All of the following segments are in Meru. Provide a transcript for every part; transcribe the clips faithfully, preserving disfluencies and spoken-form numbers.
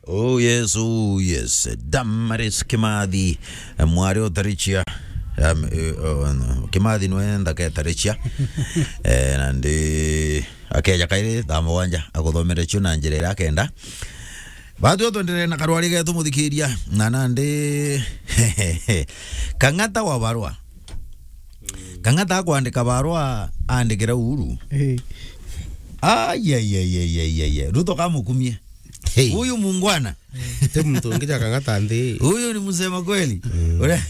Oh yes, oh yes. Damaris Kimathi, eh, mwari o Tarichia. Um, eh, oh, no. Kimathi nwe nthaka e Tarichia. Eh, nandi akeja kairi thaa mugwanja, aguthomere cio na njira iria akenda. Batwi o twenderee na karwari getu, muthikiria. Na nandi Kang'ata wa barua. Kang'ata akwandika barua, andikira Uhuru. Eh. Ai, ai, ai, ai, ai, ai, ai. Ruto kamukumie. Hey. Huyu muungwana. Ti muntu ungi ja Kang'ata nthi. Huyu ni msema kweli. Mm. Ure-,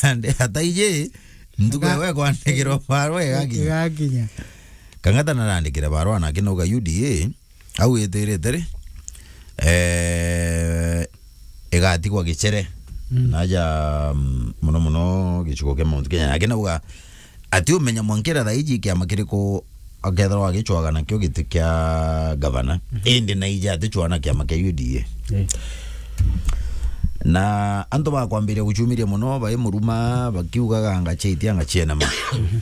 ande hata ije, mtu Ga- wewe kwandikirwa barua igakinya. Igakinya. Kang'ata narandikire barua na akinauga U D A, au itirite ri, eh, igatigwa gicere. Mm. Naja, mm, muno muno gicigo kia Mount Kenya. Akinauga ati umenya mwankira thaa iji kiama kiriku akethirwa agicwaga nakio giti kia gavana. Mhm. Indi naija aticwaga na kiama kia U D A. Eh. Na antu bakwambiria gucumiria muno, bai muruma, bakiugaga, "Anga chaitia, anga chienama." Mhm.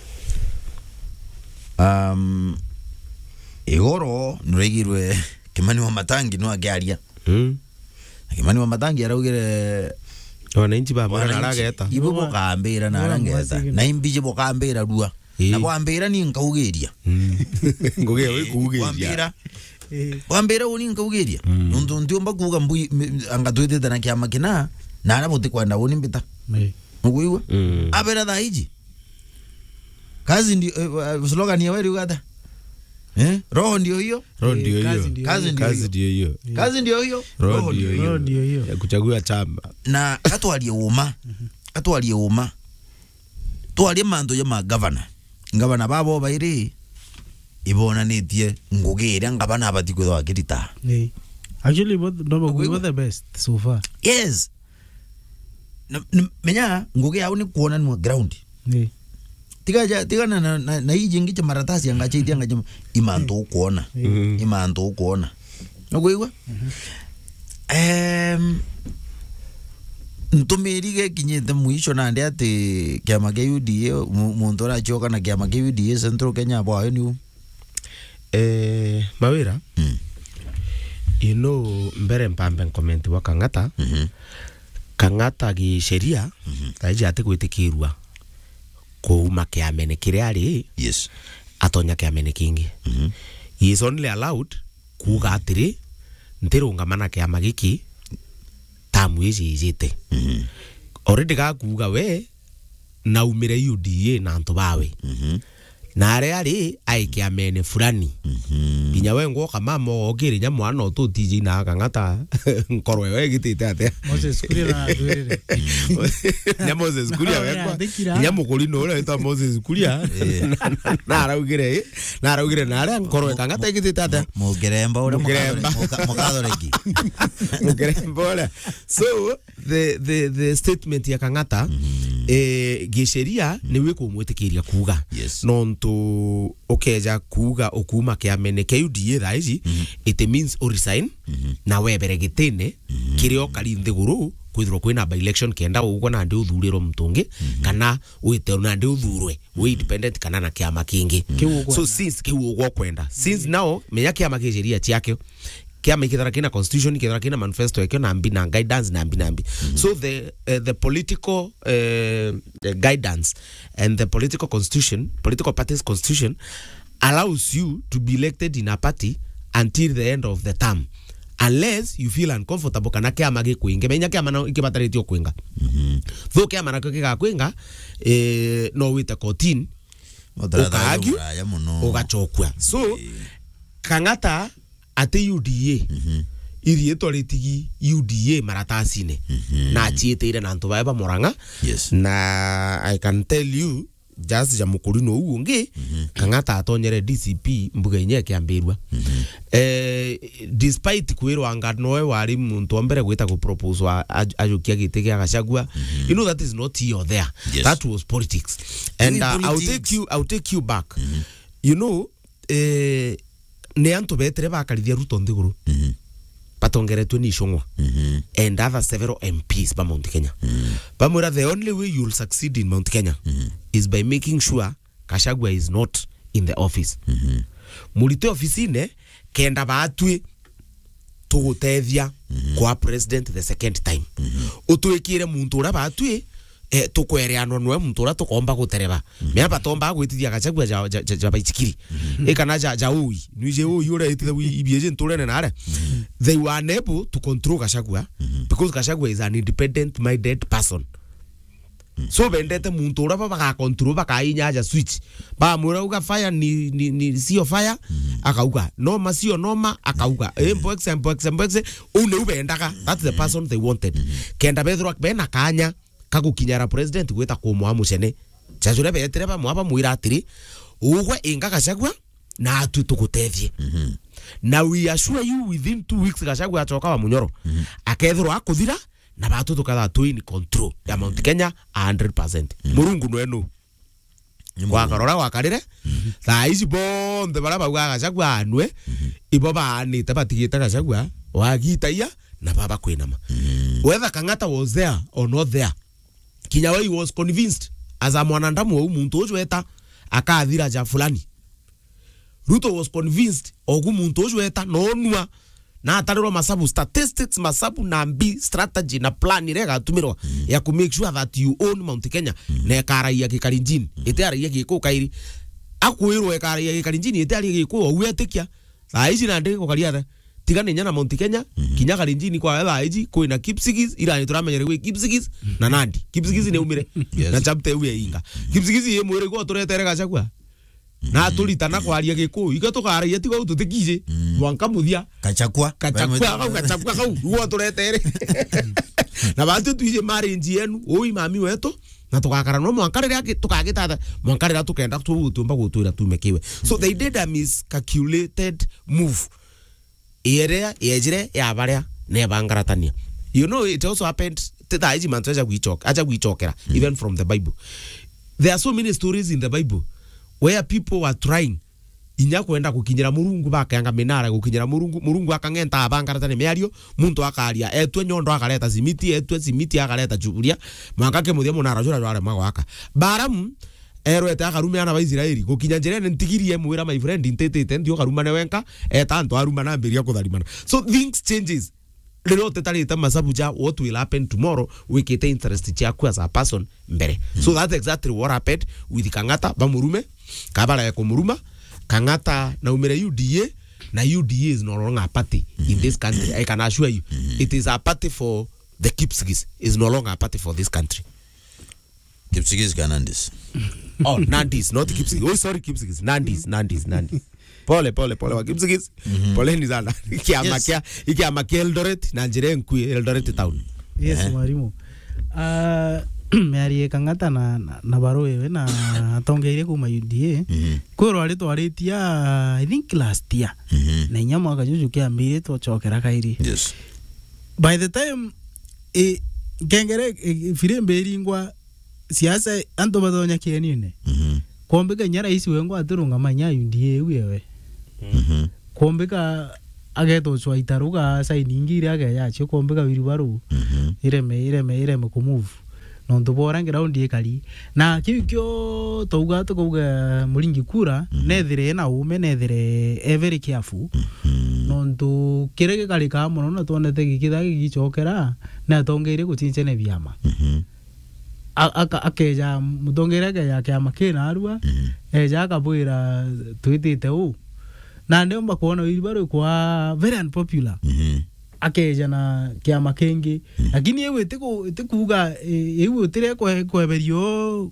Um, igoro nuraigirwe Kimani wa Matangi no akiaria. Mm. Na Kimani wa Matangi araugire, wananchi ba mwana wananchi, arageta. Ibu bukambira na arangeta. Na imbiji bukambira rua. Ii. Na bwambira ni nkaugiria. Mm. Ngugi ya wikuugiria. Bwambira. Ii. Bwambira uni nkaugiria. Mm. Nuntu ntiumba kuuga mbui, m-, anga twitite na kiama kina, na ara butikwenda uni mbita. Ii. Nukuigua? Mm. Abera thaa iji. Kazi ndio, eh, eh, slogan ya wewe ugata. Eh? Roho ndio hiyo. Roho ndio hiyo. Kazi ndio hiyo. Kazi ndio hiyo. Kazi ndio hiyo. Roho ndio hiyo. Roho ndio hiyo. Ya kuchagua chama. Na atwarie uma. Mhm. Atwarie uma. Twarie mantu ja ma governor. Governor babo bairi ibonanitie ngugi iria ngavana abati kwithwa akirita. Ii. Actually, both, no, we were the best so far. Yes. Na, na, menya, ngugi yao ni kuonanua ground. Ii. Tiga ja, tiga na, na, na, na iji ingi cha maratasi anga cha iti anga cha imantu ukuona. Ii. Mm. Imantu ukuona. Nukuigua? Mhm. Em, ntumiri gekinyite mwisho nandi ati kiama kia U D A, mu-, muntu uracioka na kiama kia U D A Central Kenya bwayo niu. Eh, Mawira, mm, you know, mbere mpambe ncomment bwa Kang'ata, mhm, Kang'ata gisheria, mhm, thaiji atigwitikirua kuuma kiamene kiria ari, yes, atonya kiamene kingi. Mhm. He is only allowed kuuga atiri, "Ntirungama na kiama giki tamu iji ijite." Mhm. Already gakuuga we, naumire U D A na antu bawe. Mhm. Na aria ari, ai kiamene fulani. Mhm. Nginya we ngwoka mama okire nya mwana ututiji na Kang'ata, nkoro yo igitite atia? Moses Kuria na atwirire. Nya Moses Kuria wekwa. Athikira. Nya mukurino uria witwa Moses Kuria. Eh. Na, na, na araugire, na araugire na aria nkoro ya Kang'ata igitite atia? Mu-, Mugeremba uria Mugeremba. Mukathore-, muka-, Mukathoreki. Mugeremba uria. So, the, the, the statement ya Kang'ata, mhm, eh, gisheria, mhm, niwe kumwitikiria kuuga. Yes. Nontu ukeja kuuga ukuuma kiamene kia U D A thaa iji, mhm, it means u resign, mhm, na webere gitine, mhm, kiria ukari nthiguru, kwithirwa kwina by-election kenda ugwe nandi uthurirwe muntu ungi, mhm, kana wite nandi uthurwe, wi independent kana na kiama kingi. Kiu ukwenda. So since kiu ugwe ukwenda. Since now, menya kiama ki sheria ciakio. Kiama ikethira kina constitution, ikethira kina manifesto yakio, na mbi na guidance, na mbi na mbi. Mhm. So the, eh, the political, eh, eh, guidance and the political constitution, political parties constitution allows you to be elected in a party until the end of the term, unless you feel uncomfortable kana kiama gikwinge. Menya kiama na ikibataritie kwinga. Mhm. Though kiama nakio gigakwinga, eh, no wite kotini, mutaratara ukaagio, jumuraya muno, ugacokua. So, eh, Kang'ata ati U D A, mhm, iriitwa ritigi U D A maratasine, mhm, na aciitire na antu bae ba Murang'a. Yes. Na I can tell you, just ja mukurino uu ungi, mhm, Kang'ata atonyere D C P mbuga inya ikiambirua. Mhm. Eh, despite kwirwa anga noe wari muntu wa mbere gwita ku propose a-, aj-, ajukia giti gia Gachagua, mhm, you know that is not here or there. Yes. That was politics. And, uh, I'll take you, I'll take you back. Mhm. You know, eh, ni antu betire bakarithia Ruto nthiguru. Mhm. Batongeretwe ni Ichung'wa, mhm, and other several M Ps ba Mount Kenya. Mhm. Bamwira, "The only way you'll succeed in Mount Kenya, mhm, is by making sure Gachagua is not in the office." Mhm. Murite ofisine, kenda batwi tugutethia kwa president the second time. Utwikire muntu uria batwi, eh, tukwereanwa nwe muntu uria tukomba gutereba. Mea batomba gwitithia Gachagua ja, ja, ja, ja baichikiri. E kana ja, ja ui. Nwije ui uria itithagua ibieje nturene nare. They were unable to control Gachagua because Gachagua is an independent minded person. So bendete muntu uria ba bagakontrol, bakainya aja switch. Bamwira uga fire ni, ni, ni sio fire, akauga. Noma sio noma, akauga. Eh, mboxe, mboxe, mboxe. Uu niu bendaga. That's the person they wanted. Kenda bethirwa bena kanya ka gukinyara president gwita kumwa mucene. Jajuria betire bamwa bamwira atiri, ugwe inga Gachagua, na atwi tugutethie. Na we assure you within two weeks Gachagua acoka wa munyoro. Akethirwa akuthira, na batu tukethirwa twi in control ya Mount Kenya a hundred percent. Murungu nwe nu. Ni Murungu. Gwakarora gwakarire, thaa ici bonthe baria baugaga Gachagua anwe, ibo baanite batigite Gachagua, wagitaia, na baba kwinama. Whether Kang'ata was there or not there, kinya we he was convinced as a mwanadamu, ou muntu uju eta akathira ja fulani. Ruto was convinced ogu muntu uju eta nonua na atarirwa masabu, statistics, masabu na mbi, strategy na plan iria igatumirwa ya ku make sure that you own Mount Kenya, na ikaraia Gikalenjin, itiaraia Gikuyu kairi. Akwirwa ikaraia Gikalenjin, itiaraia Gikuyu, ou etikia. Thaa ici nandi gukaria the. Tiga ni nyana Mount Kenya, kinya Kalenjin kwa thaa ici, kwina Kipsigis, ira ni turamenyere gwi Kipsigis, na Nandi. Kipsigis ni umire. Yes. Na chapter iu ya inga. Kipsigis ye mwire gwa turetere Gachagua. Na turitana kwaria Gikuyu. Iga tukaragia tiga u tutikije. Mwanka muthia. Gachagua. Gachagua kau, Gachagua kau. Gwa turetere. Na batu twije marriage yenu, ui mami wetu, na tugakara no mwanka riria ki-, tukagitata, mwanka riria tukenda tu-, tuumba gutwira tume kiwe. So they did a miscalculated move. Iria yejire ya baria nebangaratania. You know, it also happened, ti thaa ici mantu aja gwichoka-, aja gwichokera, even from the Bible. There are so many stories in the Bible where people were trying inya kwenda gukinyira Murungu, bakeanga minara gukinyira Murungu, Murungu akang'enta abangaratania miario, muntu akaria, etue nyondo akareta simiti, etue simiti akareta chuburia, mwanka kimuthia munara jura jwaremwa gwaka. Balaam erwete akarume ana ba Israeli, gukinya njirene ntigiri emwira, "My friend, ntitite, nthi ukarumane wenka," eta antu arumana ambiria kutharimana. So things changes. Riria utetarite masabu ja what will happen tomorrow, wikite interest ciaku as a person mbere. So that's exactly what happened with Kang'ata, bamurume, kabaraya kumuruma, Kang'ata naumire U D A, na U D A is no longer a party in this country. I can assure you, it is a party for the Kipsigis, is no longer a party for this country. Kipsigis ka Nandis? Oh, Nandis, not Kipsigis. Oh, sorry, Kipsigis. Nandis, Nandis, Nandis. Pole, pole, pole, wa Kipsigis. Poleni sana. Ikiama kia, ikiama kia Eldoret, na njira enkui Eldoret town. Yes, mwarimu. Ah, miario ya Kang'ata na, na, na Barua iwe na atongeire kuma U D A. Kwirwa ari twaritie, ah, I think last year. Na inya mwaka juju kiambire twachokera kairi. Yes. By the time, eh, nkengere, eh, firimbi iringwa, siasa, antu batonya kienine. Kwombika inya rais wengwa atirungama inya U D A iu yewe. Kwombika ageta ucwa itaruga, saini ingi iria akeja acio, kwombika wheelbarrow ireme, ireme, ireme kumove. Nontu bora ground ikari. Na kiu kio twauga, tukauga Muringi kura, nethire ena ume, nethire e very careful. Nontu kiria gikarikaa mono na twonete gikitha gigicokera, ni atongeire guchinchania biama. A-, aka-, akeja, mutongeire akeja kiama kina arua, eja akabwira, "Twitite uu." Na ndiomba kwona wheelbarrow kwa very unpopular. Akeja na kiama kingi. Lakini iu itiku-, itikuuga, i-, iu itire kwe-, kweberio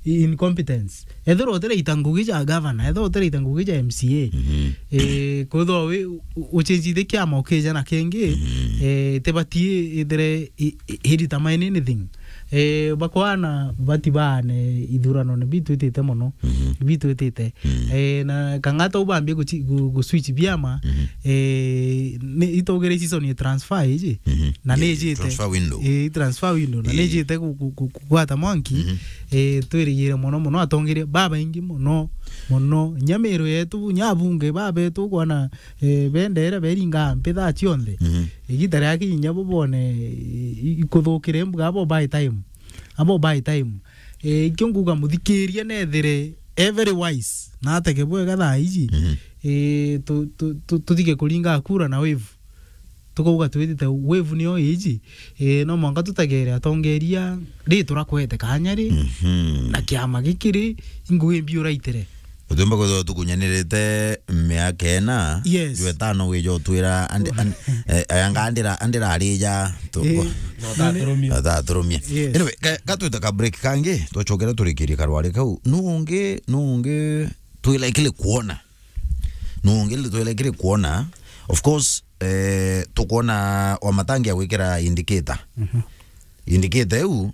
incompetence. Ethirwa utiraita ngugi ja governor, ethirwa utiraita ngugi ja M C A, eh, kwithirwa wi-, u-, ucenjithie kiama ukija na kingi, eh, itibati ithire i-, i-, irita mine anything. Eh, bakwana bati baane ithuranone bitwitite mono, bitwitite. Eh, na Kang'ata ubambie guchi-, gu-, gu switch biama, eh, ni itugire season ya transfer iji, na ni ijite. Transfer window. Eh, transfer window, na ni ijite ku-, ku-, ku-, kugwata mwanki, eh, twirigire mono mono atongeria babaingi mono, mono. Nya Meru yetu, nya abunge babetu kwana, eh, bendere beringa mpi thaa cionthe. Igita ria kinya bo bone, i-, i-, ikuthukire mbuga abo buy time. Abo buy time. Eh, ikio nguga muthikiria nethire e very wise, na atege bwega thaa iji. Eh, tu-, tu-, tu-, tuthike kuringa kura na wave. tukauga twitite wave niyo iji, eh, no mwanka tutegere atongeria ri turakwete kanya ri, mhm, na kiama giki ri, ingugi mbi uraitere. Utiumba kwithirwa tukunyanirite miaka ina, yes, jwe tano wija utwira andi-, an-, eh, anga andira, andira arija tu-, eh, na utaturumia. Utaturumia. Yes. Anyway, ka, ka twita ka break kangi, twachokera turikirie karwari kau. Nu ungi, nu ungi twilaikile kuona. Nu ungi twilaikile kuona. Of course, eh, tukwona Wamatangi agwikira indicator. Mhm. Indicator iu,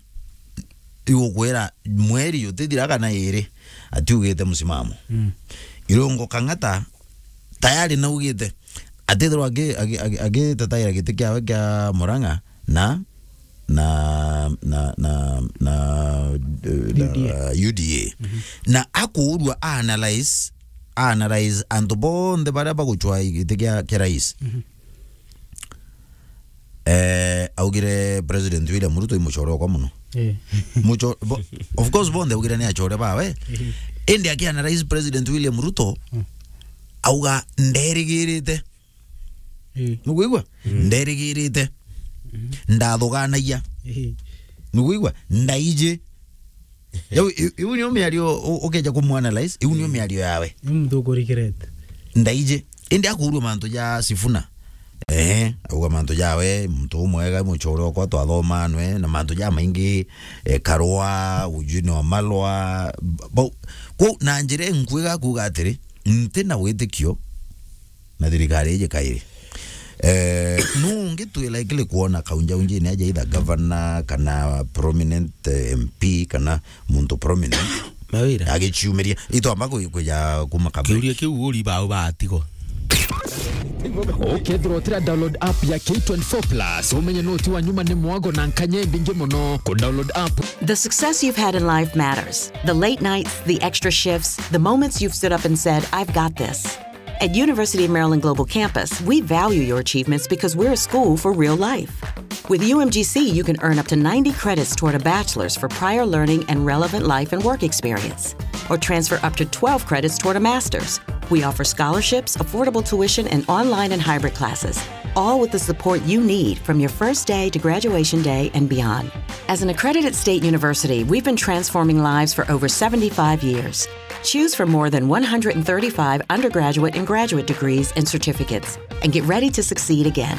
iu ukwira mweri jutithira kana iri, atiugite msimamo. Mm. Irungu Kang'ata tayari naugite, atithirwa agi-, agi-, agi-, agitetaira giti kiawe kia Murang'a na, na, na, na, na, eh, na U D A. U D A. Mhm. Na akuurua a analyze, a analyze antu bonthe baria bagucwa giti kia, kia rais. Mhm. Eh, augire President William Ruto i mucore okwa muno. Eh. Muco-, bo-, of course, bonthe augire ni acore bawe. Eh. Indi aki analyze President William Ruto, mm, auga, "Nderigirite." Eh. Nukwigua? Mm. "Nderigirite. Mm. Ndathuganagia." Eh. Nukwigua? "Ndaiji." Riu, i-, iu niyo miario u-, ukeja kumuanalyze, iu niyo miario yawe. Ni muntu ukurikirete. Ndaiji. Indi akuurua mantu ja Sifuna. Eh, auga mantu jawe, muntu umwega, mucore okwa twathoma nwe, na mantu ja maingi, eh, Karua, ujui ni wa Malwa, bau. Kwou, na njira inkwega kuuga atiri, nti na witikio na thirikari iji kairi. Eh, nu ungi twi likely kuona kaunjaunjine aja either governor kana prominent, eh, M P kana muntu prominent Mawira. Agiciumiria. Itwamba ku-, kuja kuma kambere. Kiuria kiu uri bau batigo. Ukethirwa utira download app ya K twenty-four plus, umenye no ti wa nyuma ni mwago na nkanya imbingi muno ku download app. The success you've had in life matters. The late nights, the extra shifts, the moments you've stood up and said, "I've got this." At University of Maryland Global Campus, we value your achievements because we're a school for real life. With U M G C, you can earn up to ninety credits toward a bachelor's for prior learning and relevant life and work experience, or transfer up to twelve credits toward a master's. We offer scholarships, affordable tuition, and online and hybrid classes, all with the support you need from your first day to graduation day and beyond. As an accredited state university, we've been transforming lives for over seventy-five years. Choose from more than one hundred thirty-five undergraduate and graduate degrees and certificates, and get ready to succeed again.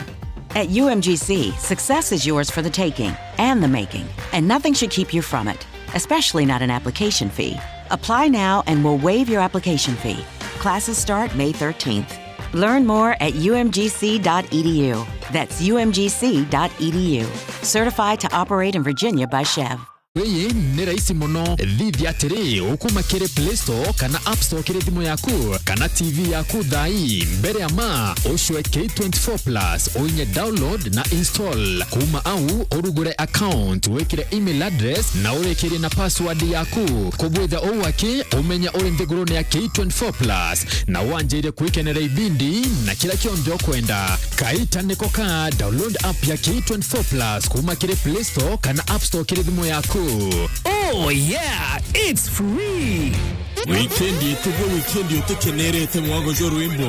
At U M G C, success is yours for the taking and the making, and nothing should keep you from it, especially not an application fee. Apply now and we'll waive your application fee. Classes start May thirteenth. Learn more at U M G C dot E D U. That's U M G C dot E D U. Certified to operate in Virginia by Chev. Ii ni rahisi muno. Thithia atiri, ukuma kiri Play Store kana App Store kiri thimu yaku kana T V yaku thaa ii. Mbere ya ma, ucwe K twenty-four plus, uinye download na install. Kuma au, urugure account, wikire email address na urikirie na password yaku. Kubwitha uu aki, umenya uri nthigurune ya K twenty-four plus na wanjire kwikenera ibindi na kira kionthe ukwenda. Kaita niko ka, download app ya K twenty-four plus kuma kiri Play Store kana App Store kiri thimu yaku. Oh yeah, it's free. Weekend yetu bwo, weekend yetu kenerete mwago jo rwimbo.